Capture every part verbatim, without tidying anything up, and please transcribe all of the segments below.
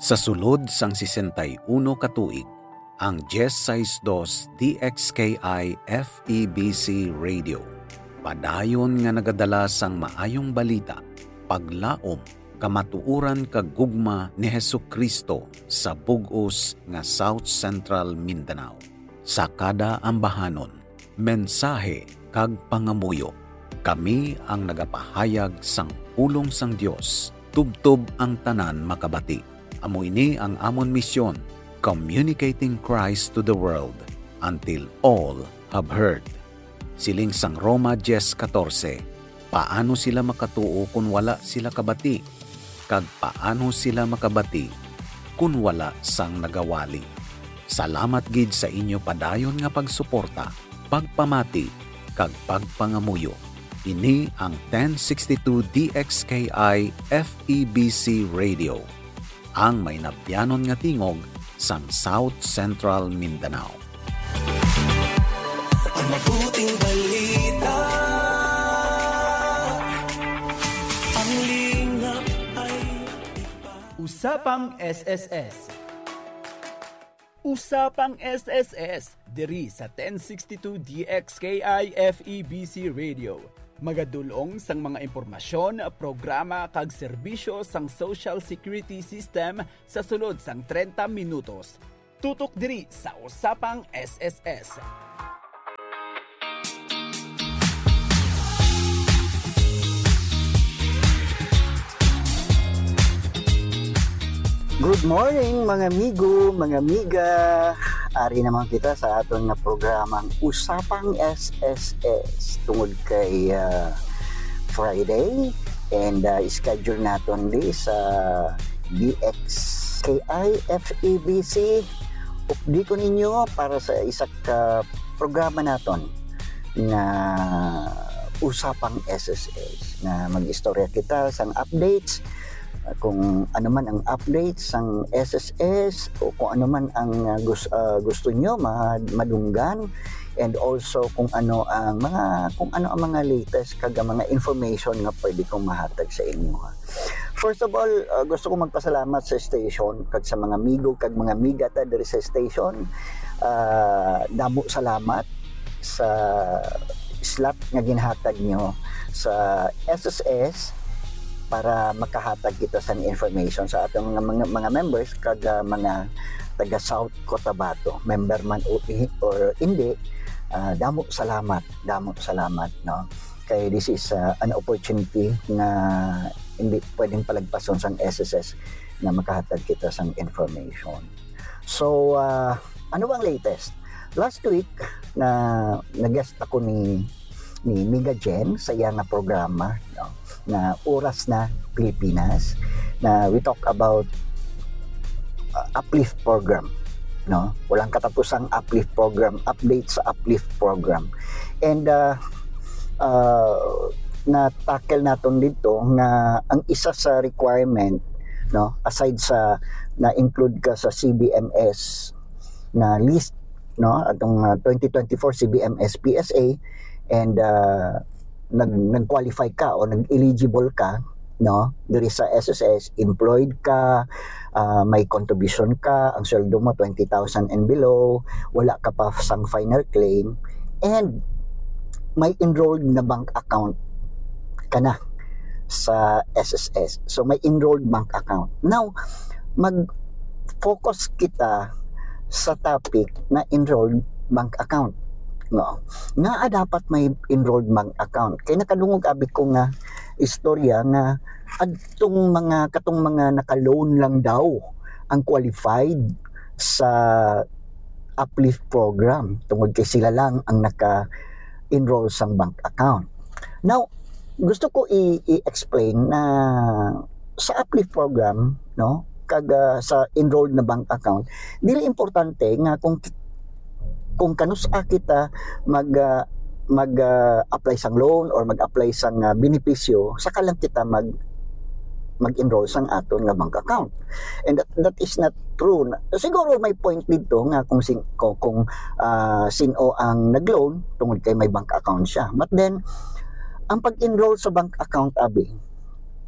Sa sulod sang sesenta y uno ka tuig, ang diez sais dos D X K I F E B C Radio padayon nga nagadala sang maayong balita, paglaom, kamatuoran kag gugma ni Jesu-Cristo sa bug-os nga South Central Mindanao. Sa kada ambahanon, mensahe kag pangamuyo, kami ang nagapahayag sang pulong sang Dios, tubtob ang tanan makabati. Amo ini ang amon misyon, communicating Christ to the world until all have heard. Siling sang Roma diez katorse, paano sila makatuo kon wala sila kabati? Kag paano sila makabati kon wala sang nagawali? Salamat gid sa inyo padayon nga pagsuporta, pagpamati, kag pagpangamuyo. Ini ang ten sixty-two D X K I F E B C Radio, ang mainabyanon nga tingog sang South Central Mindanao. Ang mabuting balita, ang lingap ay Usapang S S S. Usapang S S S, diri sa ten sixty-two D X K I F E B C Radio. Magadul-ong sang mga impormasyon, programa, kag serbisyo sang Social Security System sa sulod sang trenta minutos. Tutok diri sa Usapang S S S. Good morning, mga amigo, mga amiga. Ari naman kita sa aton nga programang Usapang S S S tungod kay, ah, Friday, and, ah, schedule naton di sa D X K I F E B C. Updi ko ninyo para sa isa ka programa naton nga Usapang S S S, nga mag-istorya kita sang updates, kung ano man ang updates sang S S S o kung ano man ang, ah, gus-, ah, gusto nyo ma-, madunggan, and also kung ano ang mga, kung ano ang mga latest kag ang mga information nga pwede kong mahatag sa inyo. First of all, uh, gusto ko magpasalamat sa station kag sa mga amigo kag mga amiga ta diri sa station. Uh, damo salamat sa slot nga ginhatag nyo sa S S S para makahatag kita sa information sa atong mga, mga, mga members kag, uh, mga taga South Cotabato, member man o i-, or hindi. Uh, damo salamat, damo salamat, no? Kay this is, uh, an opportunity nga hindi pwedeng palagpason sang S S S nga makahatag kita sang information. So, uh, ano bang latest? Last week, na, na-guest ako ni, ni Miga Jen sa iya nga programa, no, na Oras na Pilipinas, na we talk about, uh, Uplift program, no? Walang katapusang Uplift program, update sa Uplift program. And, uh, uh, na-tackle naton dito nga ang isa sa requirement, no, aside sa na-include ka sa C B M S na list, no, atong, uh, twenty twenty-four C B M S P S A, and, uh, nag-, nag-qualify ka o nag-eligible ka, no, diri sa S S S, employed ka, ah, may contribution ka, ang sweldo mo twenty thousand and below, wala ka pa sang final claim, and may enrolled na bank account ka na sa S S S. So, may enrolled bank account. Now, mag-focus kita sa topic na enrolled bank account. No? Ngaa dapat may enrolled bank account? Kay nakadungog abi ko nga istorya nga adtong mga, katong mga naka-loan lang daw ang qualified sa Uplift program tungod kay sila lang ang naka-enroll sang bank account. Now, gusto ko i-, i-explain na sa Uplift program, no, kag, ah, sa enrolled na bank account, dili importante nga kung ki-, kung kanus-a kita mag, ah, mag, ah, apply sang loan or mag-apply sang, ah, benepisyo, saka lang kita mag, mag-enroll sang aton nga bank account. And that, that is not true. Na, siguro may point dito nga kung sin-, kung, kung, ah, sin-o ang nag-loan tungod kay may bank account siya. But then, ang pag-enroll sa bank account, abi,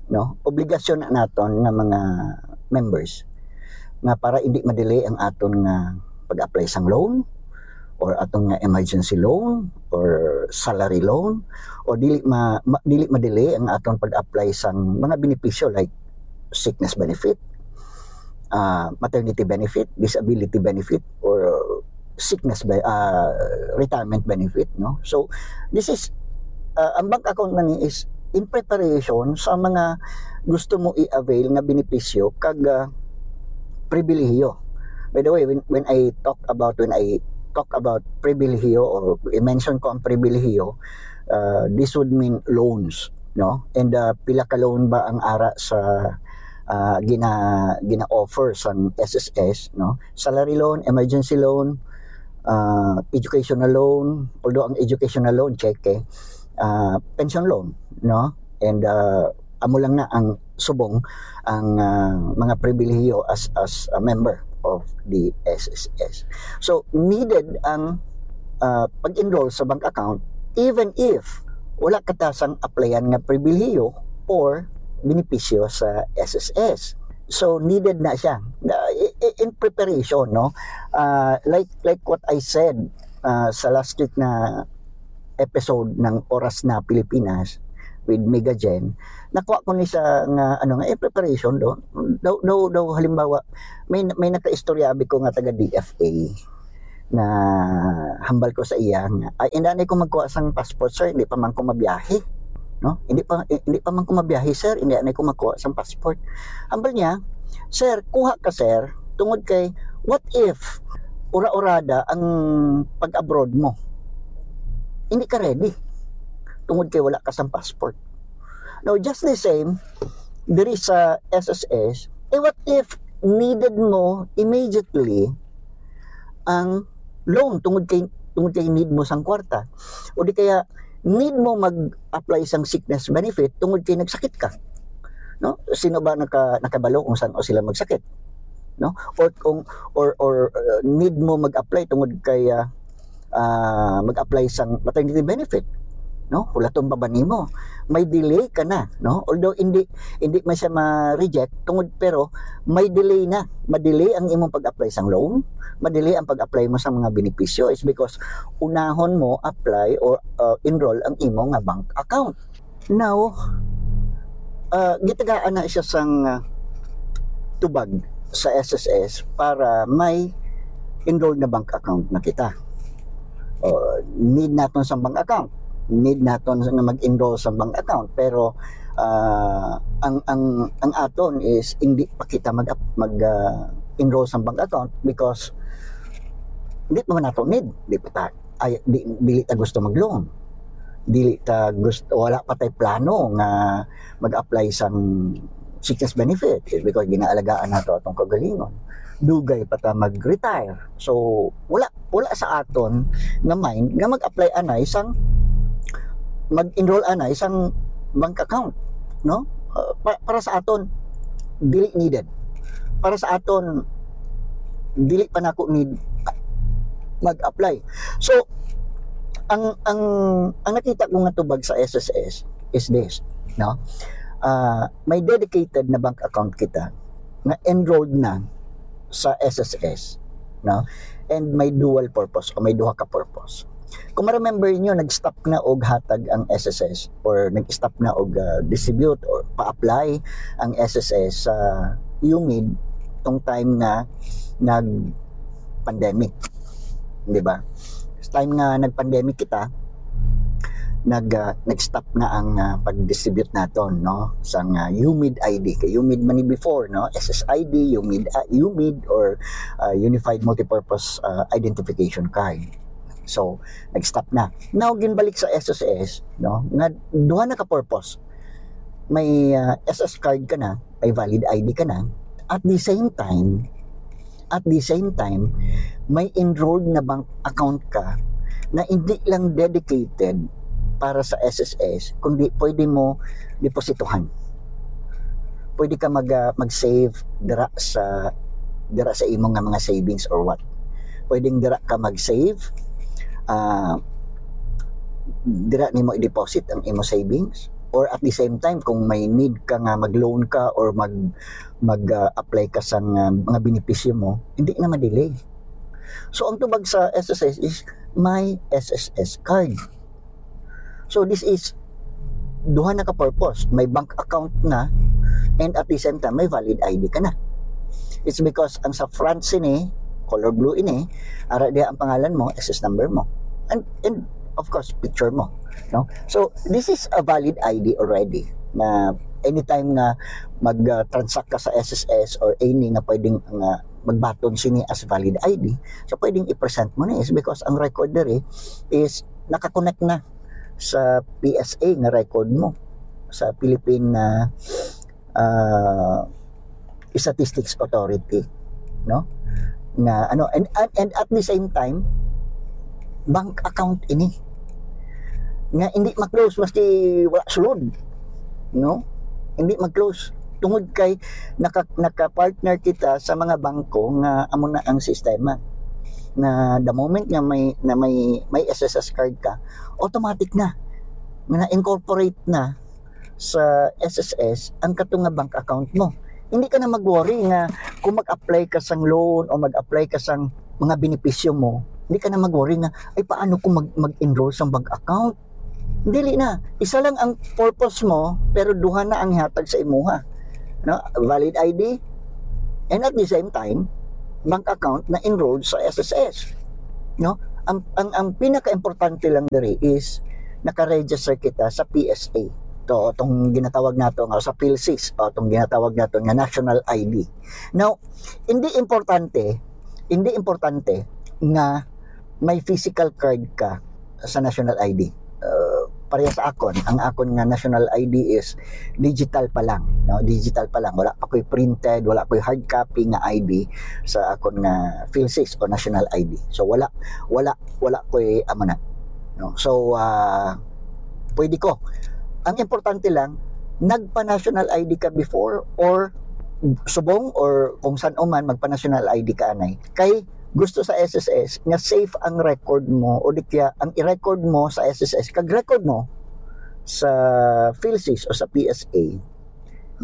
no, obligasyon na naton nga mga members. nga para hindi ma-delay ang aton nga pag-apply sang loan or aton nga emergency loan or salary loan, o dili ma, ma dili ma-delay ang aton pag-apply sang mga benepisyo like sickness benefit, ah, maternity benefit, disability benefit, or sickness be-, ah, retirement benefit, no? So, this is, ah, ang bank account na ni is in preparation sa mga gusto mo i-avail nga benepisyo kag, ah, pribilehiyo. By the way, when, when I talk about, when I talk about pribilehiyo or i-mention ko ang pribilehiyo, ah, this would mean loans, no? And, ah, pila ka loan ba ang ara sa, ah, gina-, gina-offer sang S S S, no? Salary loan, emergency loan, ah, educational loan, although ang educational loan, cheque, ah, pension loan, no? And, ah, amo lang na ang subong ang, ah, mga pribilehiyo as, as a member of the S S S. So, needed ang, ah, pag-enroll sa bank account even if wala ka ta sang applyan nga pribilehiyo or benepisyo sa S S S. So, needed na siya. Na, i-, i-, in preparation, no? Ah, like, like what I said, ah, sa last week na episode ng Oras na Pilipinas with Mega Jen, nakuha ko ni sa nga, ano nga, eh, preparation do. Daw, daw, daw, halimbawa, may, may nakaistorya abi ko nga taga D F A na hambal ko sa iya nga, "Ay, hindi anay ko magkuha sang passport, sir, hindi pa man ko mabiyahe." No? "Hindi pa, eh, hindi pa man ko mabiyahe, sir, hindi anay ko magkuha sang passport." Hambal niya, "Sir, kuha ka, sir, tungod kay what if ura-urada ang pag-abroad mo? Hindi ka ready tungod kay wala ka sang passport." Now, just the same, diri sa S S S, eh, what if needed mo immediately ang loan tungod kay, tungod kay need mo sang kwarta? O di kaya, need mo mag-apply sang sickness benefit tungod kay nagsakit ka? No? Sino ba naka-, nakabalo kung san-o sila magsakit? No? Or kung, or, or, uh, need mo mag-apply tungod kay, uh, ah, mag-apply sang maternity benefit, no? Hulaton pa ba nimo? May delay ka na, no? Although hindi, hindi man siya ma-reject tungod, pero may delay na. Ma-delay ang imong pag-apply sang loan, ma-delay ang pag-apply mo sa mga benepisyo is because unahon mo apply or, uh, enroll ang imo nga bank account. Now, ah, gitagaan na siya sang, ah, tubag sa S S S para may enrolled na bank account na kita. O, need naton sa bank account. Need naton nga mag-enroll sa bank account. Pero, ah, ang, ang, ang aton is hindi pa kita mag, mag, ah, enroll sa bank account because hindi pa man nato need. Di pa ta, ay, di, dili ta gusto mag-loan. Dili ta gusto, wala pa tay plano nga mag-apply sang sickness benefit, eh, because ginaalagaan nato atong kaugalingon. Dugay pa ta mag-retire. So, wala, wala sa aton nga mind nga mag-apply anay sang, mag-enroll anay sang bank account, no? Uh, pa-, para sa aton, dili needed. Para sa aton, dili pa nako need mag-apply. So, ang, ang, ang nakita ko nga tubag sa S S S is this, no? Ah, may dedicated na bank account kita nga enrolled na sa S S S, no? And may dual purpose o may duha ka purpose. Kung ma-remember niyo, nag-stop na og hatag ang S S S or nag-stop na og, ah, distribute or pa-apply ang S S S sa UMID tong time nga nag-pandemic, di ba? Time nga nag-pandemic kita, nag, ah, nag-stop na ang, ah, pag-distribute naton, no, sang, ah, UMID I D. Kay UMID man ni before, no, S S I D, UMID, ah, UMID or, ah, Unified Multipurpose, ah, Identification Card. So, nag-stop na. Now, ginbalik sa S S S, no, nga duha na ka purpose. May, ah, S S card ka na, may valid I D ka na. At the same time, at the same time, may enrolled na bank account ka na hindi lang dedicated para sa S S S, kundi pwede mo depositohan. Pwede ka mag, ah, mag-save dira sa, dira sa imo nga mga savings or what. Pwedeng dira ka mag-save, ah, dira nimo i-deposit ang imo savings, or at the same time, kung may need ka nga mag-loan ka or mag, mag, ah, apply ka sa nga mga benepisyo mo, hindi na ma-delay. So, ang tubag sa S S S is may S S S card. So, this is duha na ka purpose. May bank account na, and at the same time, may valid I D ka na. It's because ang sa front sini, color blue ini, ara diha ang pangalan mo, S S number mo. And, and of course, picture mo. No? So, this is a valid I D already na anytime nga mag-transact ka sa S S S or any nga pwedeng nga magbaton sini as valid I D, so pwedeng i-present mo ni is because ang record diri is nakakonect na sa P S A nga record mo sa Philippine, ah, ah, Statistics Authority, no? Nga ano, and, and, and at the same time, bank account ini nga hindi ma-close maski wala sulod, no? Hindi ma-close tungod kay naka, naka-partner kita sa mga bangko nga amo na ang sistema, na the moment nga may, na may, may S S S card ka, automatic na nga na-incorporate na sa S S S ang kato nga bank account mo. Hindi ka na mag-worry nga kung mag-apply ka sang loan o mag-apply ka sang mga benepisyo mo, hindi ka na mag-worry nga, "Ay, paano kung mag-, mag-enroll sang bank account?" Dili na. Isa lang ang purpose mo, pero duha na ang ihatag sa imuha. No? Valid I D, and at the same time, bank account na enrolled sa S S S. No? Ang, ang, ang pinaka-importante lang diri is naka-register kita sa P S A. To, itong ginatawag nato nga sa PhilSys, o itong ginatawag nato nga national I D. Now, hindi importante, hindi importante nga may physical card ka sa national I D. Uh, pareha sa akon, ang akon nga national I D is digital pa lang, no? Digital pa lang. Wala pa ko'y printed, wala ko'y hard copy nga I D sa akon nga PhilSys o national I D. So, wala, wala, wala ko'y amo na. No? So, ah, pwede ko. Ang importante lang, nagpa-national I D ka before or subong or kung san-o man, magpa-national I D ka anay. Kay gusto sa S S S nga safe ang record mo o di kaya ang i-record mo sa S S S kag record mo sa PhilSys o sa P S A,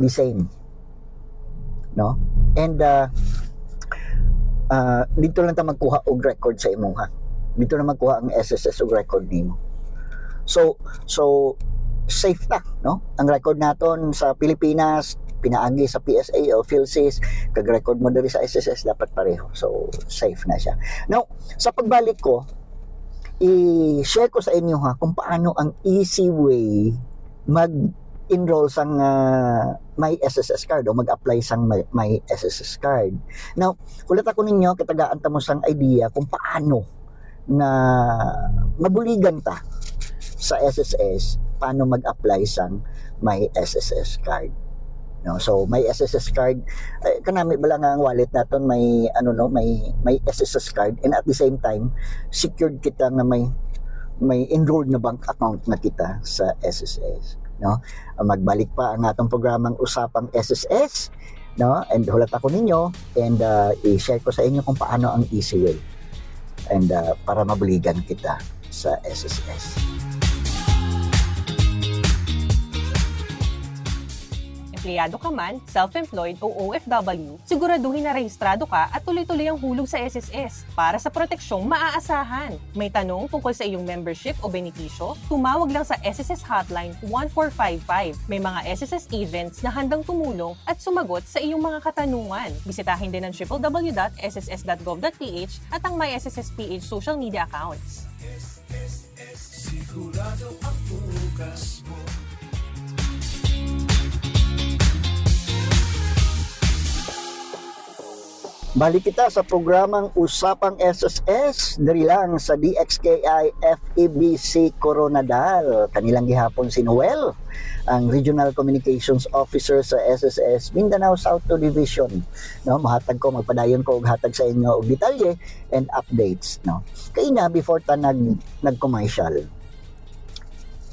the same. No? And, ah, ah, dito lang ta magkuha og record sa imuha. Dito na magkuha ang S S S og record nimo. So, so safe ta, no? Ang record naton sa Pilipinas, pinaagi sa P S A o PhilSys, kag record mo diri sa S S S, dapat pareho. So, safe na siya. Now, sa pagbalik ko, i-share ko sa inyo, ha, kung paano ang easy way mag-enroll sang, ah, may S S S card o mag-apply sang may, may S S S card. Now, hulat ako ninyo, kitagaan ta mo sang idea kung paano nga mabuligan ta sa S S S, paano mag-apply sang may S S S card. No? So, may S S S card, eh, kanami bala nga ang wallet naton may, ano, no, may, may S S S card, and at the same time, secured kita nga may, may enrolled na bank account na kita sa S S S, no? Magbalik pa ang atong programang Usapang S S S, no? And hulat ako ninyo, and, ah, i-share ko sa inyo kung paano ang easy way. And, ah, para mabuligan kita sa S S S. Empleyado ka man, self-employed o O F W, siguraduhin na rehistrado ka at tuloy-tuloy ang hulog sa S S S para sa proteksyong maaasahan. May tanong tungkol sa iyong membership o benepisyo? Tumawag lang sa S S S Hotline one four five five. May mga S S S agents na handang tumulong at sumagot sa iyong mga katanungan. Bisitahin din ang triple W dot S S S dot gov dot P H at ang My S S S P H social media accounts. Sigurado ang bukas mo. Balik kita sa programang Usapang S S S, diri lang sa D X K I F E B C Koronadal. Kanilang gihapon si Noel, ang Regional Communications Officer sa S S S Mindanao South two Division. No, mahatag ko, magpadayon ko og hatag sa inyo og detalye and updates, no. Kay na, before ta nag, nag-commercial,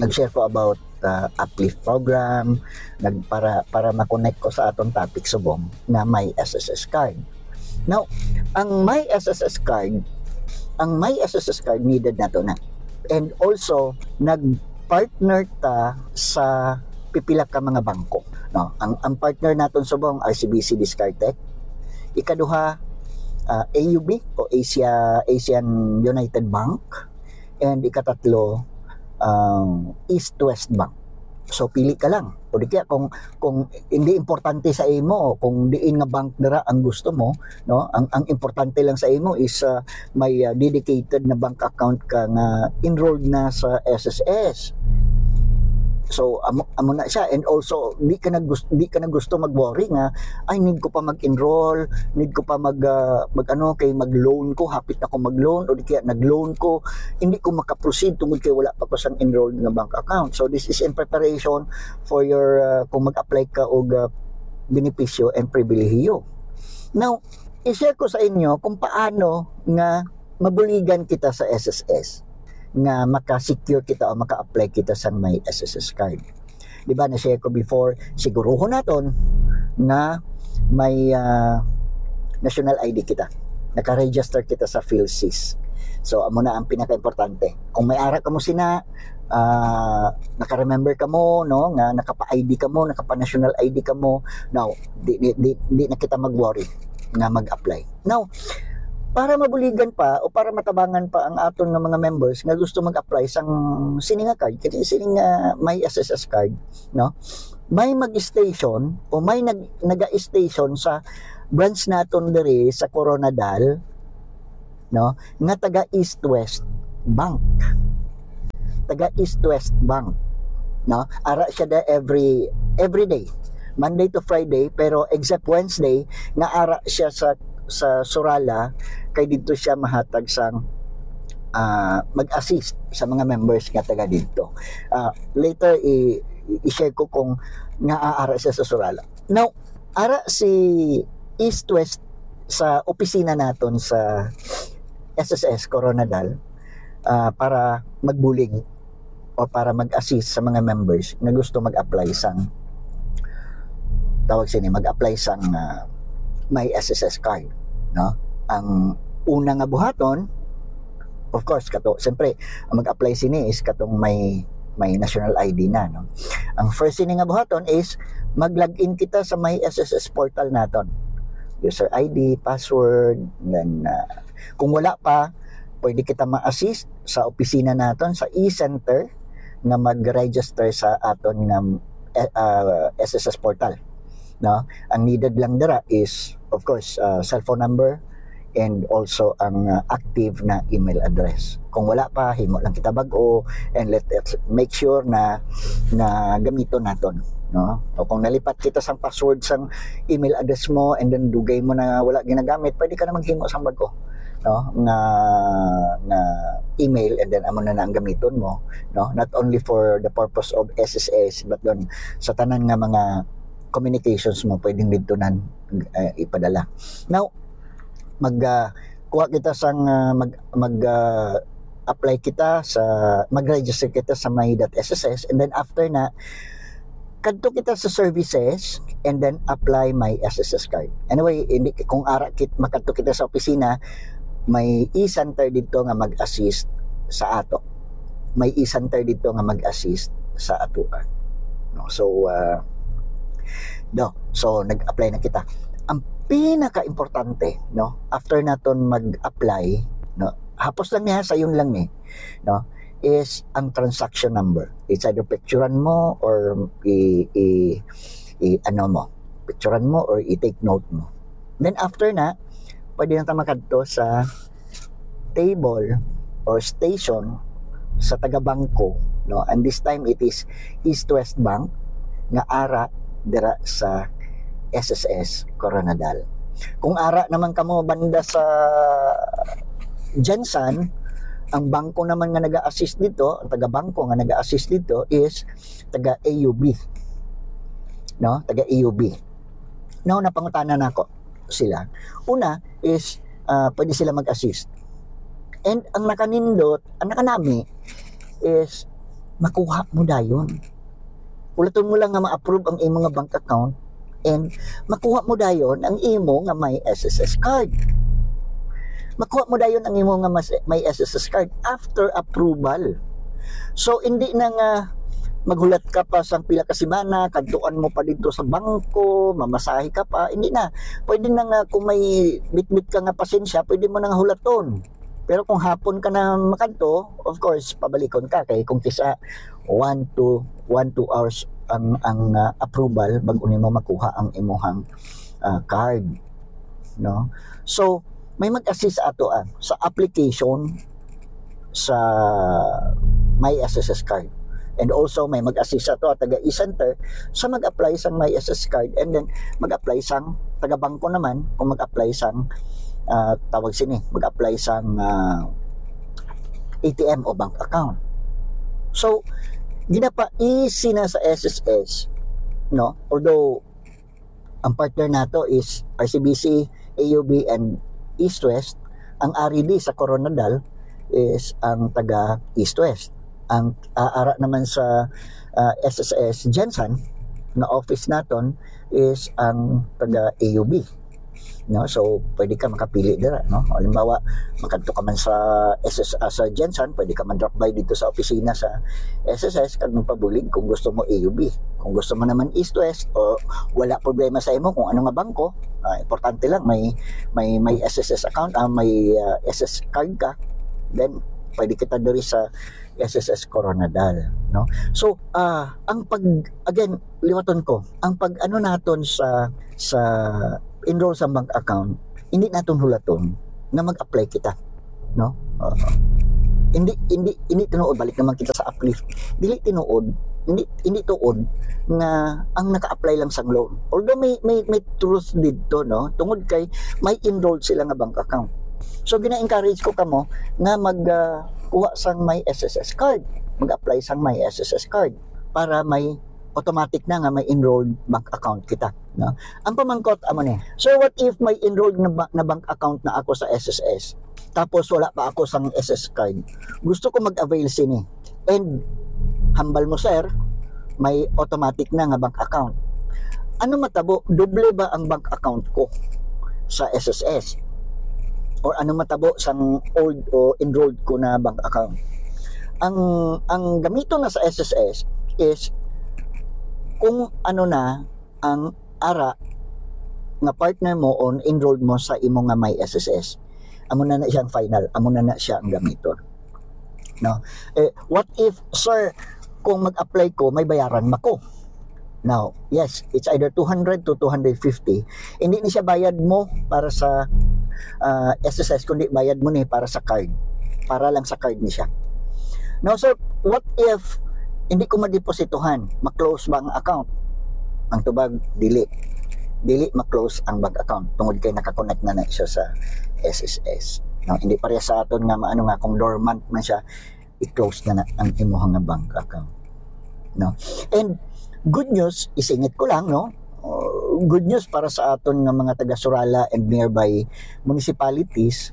nag-share ko about, uh, Uplift program, nag, para, para ma-connect ko sa atong topic subong na may S S S card. Now, ang may S S S card, ang may S S S card needed nato na. And also, nag-partner ta sa pila ka mga bangko, no? Ang, ang partner naton subong, R C B C Discardtech. Ikaduha, ah, A U B o Asia, Asian United Bank. And ikatatlo, ang East West Bank. So, pili ka lang. O di kaya kung, kung hindi importante sa imo, kung diin nga bank dira ang gusto mo, no? Ang, ang importante lang sa imo is, ah, may, ah, dedicated na bank account ka nga enrolled na sa S S S. So, amo, amo na siya. And also, di ka na gusto, di ka na gusto mag-worry nga, "Ay, need ko pa mag-enroll, need ko pa mag, ah, mag ano, kay mag-loan ko, hapit na ko mag-loan, o di kaya nag-loan ko, hindi ko makaproceed tungod kay wala pa ko sang enrolled nga bank account." So, this is in preparation for your, ah, kung mag-apply ka og, ah, benepisyo and pribilehiyo. Now, i-share ko sa inyo kung paano nga mabuligan kita sa S S S, nga maka-secure kita o maka-apply kita sang may S S S card. Di ba, na-share ko before, siguruhon naton nga may, ah, national I D kita. Naka-register kita sa PhilSys. So, amo na ang pinaka-importante. Kung may ara kamo sina, ah, naka-remember kamo, no, nga nakapa-I D kamo, nakapa-national I D kamo, now, di, di, di, di na kita mag-worry nga mag-apply. Now, para mabuligan pa o para matabangan pa ang aton nga mga members nga gusto mag-apply sang sini nga card, kini sini nga may S S S card, no? May mag-station o may nag-, naga-station sa branch naton diri sa Koronadal, no, nga taga East West Bank. Taga East West Bank, no? Ara siya da every, every day, Monday to Friday, pero except Wednesday nga ara siya sa, sa Surala, kay didto siya mahatag sang, ah, mag-assist sa mga members nga taga didto. Ah, later i, i- i-share ko kung nga ara siya sa Surala. Now, ara si East West sa opisina naton sa S S S Koronadal, ah, para magbulig o para mag-assist sa mga members nga gusto mag-apply sang, tawag sini, mag-apply sang, ah, may S S S card, no? Ang una nga buhaton, of course, kato, siyempre, ang mag-apply sini is katong may, may national I D na, no? Ang first sini nga buhaton is mag-log in kita sa may S S S portal naton. User I D, password, then, ah, kung wala pa, pwede kita ma-assist sa opisina naton sa e-center nga mag-register sa aton nga, eh, ah, S S S portal, no? Ang needed lang dira is, of course, ah, cellphone number and also ang, ah, active na email address. Kung wala pa, himo lang kita bag-o and let us make sure na, na gamiton naton, no? O kung nalipat kita sang password sang email address mo and then dugay mo na wala ginagamit, pwede ka na maghimo sang bag-o, no, nga, nga email, and then amo na na ang gamiton mo, no, not only for the purpose of S S S but then sa tanan nga mga communications mo pwedeng didto nan, eh, ipadala. Now, mag, ah, kuha kita sang, ah, mag, mag, ah, apply kita sa, mag-register kita sa my dot S S S, and then after na, kadto kita sa services and then apply my S S S card. Anyway, hindi, kung ara kit makadto kita sa opisina, may e-center dito nga mag-assist sa ato. May e-center dito nga mag-assist sa atuan. No? So, ah, no. So, nag-apply na kita. Ang pinaka-importante, no, after naton mag-apply, no, hapos lang niya, sayon lang ni, no, is ang transaction number. It's either picturean mo or i, i, i ano mo, picturean mo or i-take note mo. Then after na, pwede na ta makadto sa table or station sa taga-bangko, no? And this time it is East West Bank nga ara dira sa S S S Koronadal. Kung ara naman kamo banda sa Gensan, ang bangko naman nga naga-assist dito, ang taga-bangko nga naga-assist dito is taga A U B. No? Taga A U B. Now, napangutana nako sila. Una is, ah, pwede sila mag-assist. And ang nakanindot, ang nakanami is makuha mo dayon. Ulaton mo lang nga ma-approve ang imo nga bank account and makuha mo dayon ang imo nga may S S S card. Makuha mo dayon ang imo nga mas-, may S S S card after approval. So, hindi na nga maghulat ka pa sang pila ka semana, kadtuan mo pa didto sa bangko, mamasahe ka pa, hindi na. Pwede na nga kung may bitbit ka nga pasensya, pwede mo na nga hulaton. Pero kung hapon ka na makadto, of course, pabalikon ka kay kung kisa one to one two hours ang ang ah, approval bag-o nimo makuha ang imuhang ah, card, no? So, may mag-assist ato ah, sa application sa My S S S card. And also, may mag-assist ato ah, taga e-center sa mag-apply sang My S S S card, and then mag-apply sang taga bangko naman kung mag-apply sang ah, tawag sini, mag-apply sang ah, A T M o bank account. So, ginapa-easy na sa S S S, no? Although ang partner nato is R C B C, A U B, and East West, ang R E D sa Koronadal is ang taga East West. Ang ah, ara naman sa ah, S S S Gensan na office naton is ang taga A U B, no? So, pwede ka makapili dira, no? Halimbawa, makadto ka man sa S S S, ah, sa Gensan, pwede ka man drop by dito sa opisina sa S S S kag magpabulig kung gusto mo A U B. Kung gusto mo naman East West, o wala problema sa imo kung ano nga bangko, ah, importante lang may may may S S S account, ah, may ah, S S card ka, then pwede kita diri sa S S S Koronadal, no? So, ah, ang pag, again, liwaton ko, ang pag ano naton sa sa enroll sa bank account, hindi naton hulaton na mag-apply kita, no? Ah, hindi hindi hindi tinuod, balik naman kita sa Uplift. Dili tinuod, hindi hindi tuod nga ang naka-apply lang sang loan. Although may may may truth didto, no? Tungod kay may enrolled sila nga bank account. So gina-encourage ko kamo nga mag ah, kuha sang My S S S card, mag-apply sang My S S S card para may automatic na nga may enrolled bank account kita, no? Ang pamangkot amo ni, "Sir, what if may enrolled na, ba- na bank account na ako sa S S S? Tapos wala pa ako sang S S S card. Gusto ko mag-avail sini." And hambal mo, sir, may automatic na nga bank account. Ano matabo? Doble ba ang bank account ko sa S S S? Or ano matabo sang old o enrolled ko na bank account? Ang ang gamiton na sa S S S is kung ano na ang ara nga partner mo o enrolled mo sa imo nga My S S S. Amo na na siyang final, amo na na siya ang gamiton. No? Eh, what if, sir, kung mag-apply ko, may bayaran ba ko? Now, yes, it's either two hundred to two hundred fifty. Hindi ni siya bayad mo para sa ah, S S S, kundi bayad mo ni para sa card. Para lang sa card ni siya. Now, sir, what if hindi ko madepositohan? Ma-close ba ang account? Ang tubag, dili. Dili ma-close ang bank account tungod kay naka-connect na na siya sa S S S. No, hindi pareha sa aton nga maano nga kung dormant man siya, i-close na na ang imuha nga bank account. No? And good news, isingit ko lang, no? Uh, good news para sa aton nga mga taga Surala and nearby municipalities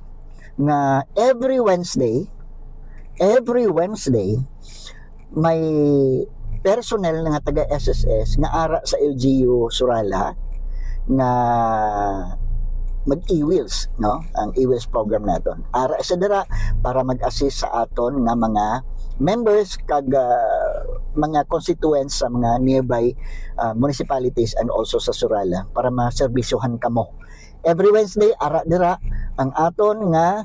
nga every Wednesday, every Wednesday, may personnel nga taga S S S nga ara sa L G U Surala nga mag-e-wheels, no? Ang e-wheels program naton. Ara sa dira para mag-assist sa aton nga mga members kag ah, mga constituents sa mga nearby ah, municipalities and also sa Surala para maserbisyohan kamo. Every Wednesday, ara dira ang aton nga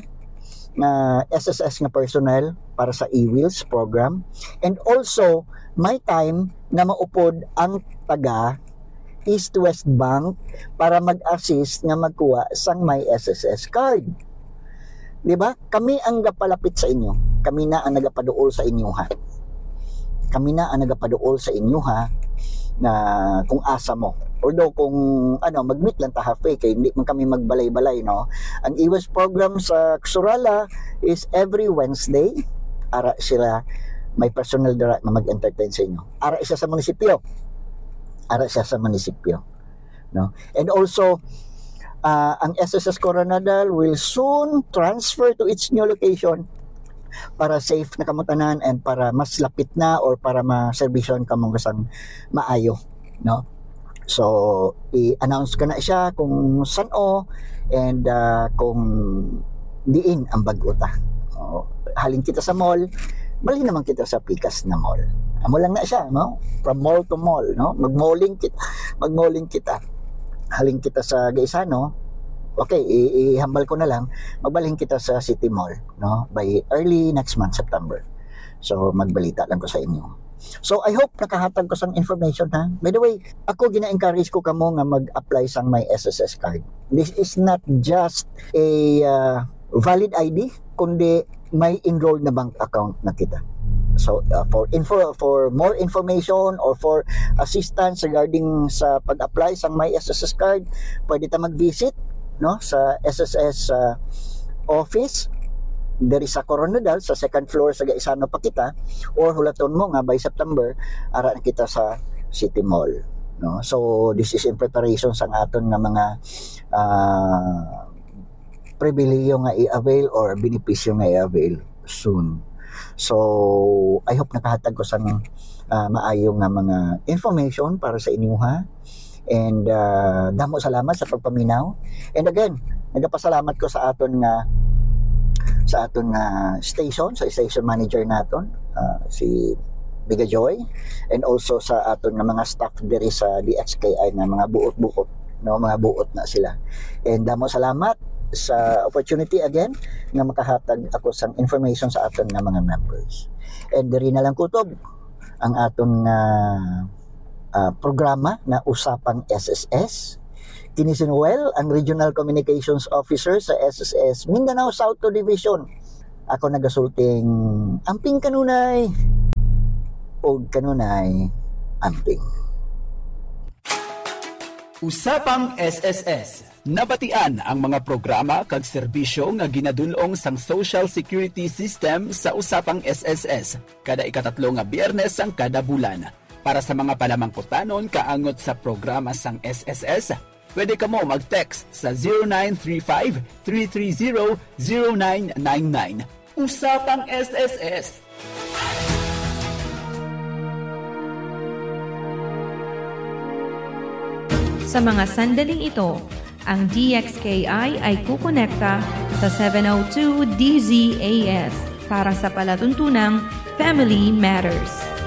nga S S S nga personnel para sa e-wheels program. And also, may time nga maupod ang taga East West Bank para mag-assist nga magkuha sang My S S S card. Di ba? Kami ang gapalapit sa inyo. Kami na ang nagapaduol sa inyo, ha. Kami na ang nagapaduol sa inyo, ha, na kung asa mo. Although kung ano, mag-meet lang ta halfway kay hindi man kami magbalay-balay, no. Ang e-wheels program sa Surala is every Wednesday. Ara sila may personal dira nga mag-entertain sa inyo. Ara siya sa munisipyo. Ara siya sa munisipyo, no. And also, ah, ang S S S Koronadal will soon transfer to its new location para safe na kamo tanan and para mas lapit na or para maserbisyon kamo sang maayo, no. So, i-announce ko na siya kung san-o and ah, kung diin ang bag-o ta. O, halin kita sa mall, bali naman kita sa pikas na mall. Amo lang na siya, no? From mall to mall, no? Magmalling kita, magmalling kita. Halin kita sa Gaisano, okay, i- ihambal ko na lang, magbalhin kita sa City Mall, no? By early next month, September. So, magbalita lang ko sa inyo. So, I hope nakahatag ko sang information, ha. By the way, ako gina-encourage ko kamo nga mag-apply sang My S S S card. This is not just a uh, valid I D, kundi may enrolled na bank account na kita. So, uh, for info, for more information or for assistance regarding sa pag-apply sang My S S S card, pwede ta mag-visit, no, sa S S S uh, office diri sa Koronadal, sa second floor sa Gaisano pa kita, or hulaton mo nga by September ara na kita sa City Mall, no? So, this is in preparation sang aton nga mga uh, pribilehiyo nga i-avail or benepisyo nga i-avail soon. So, I hope nakahatag ko sang uh, maayo nga mga information para sa inyo, ha. And uh, damo salamat sa pagpaminaw. And again, nagapasalamat ko sa aton nga sa aton nga station, sa station manager naton, uh, si Biga Joy, and also sa aton nga mga staff diri sa D X K I nga mga buot-buot, no, mga buot na sila. And damo salamat sa opportunity again nga makahatag ako sang information sa aton nga mga members. And diri na lang kutob ang aton nga uh, programa na Usapang S S S. Kini si Noel, ang Regional Communications Officer sa S S S Mindanao South two Division. Ako nagasulting amping kanunay o kanunay amping. Usapang S S S. Nabatian ang mga programa kag serbisyo nga ginadul-ong sang Social Security System sa Usapang S S S kada ikatatlo nga Biyernes sang kada bulan. Para sa mga palamangkutanon kaangot sa programa sang S S S, pwede kamo mag-text sa zero nine three five, three three zero, zero nine nine nine. Usapang S S S. Sa mga sandaling ito, ang D X K I ay kukonekta sa seven oh two D Z A S para sa palatuntunang Family Matters.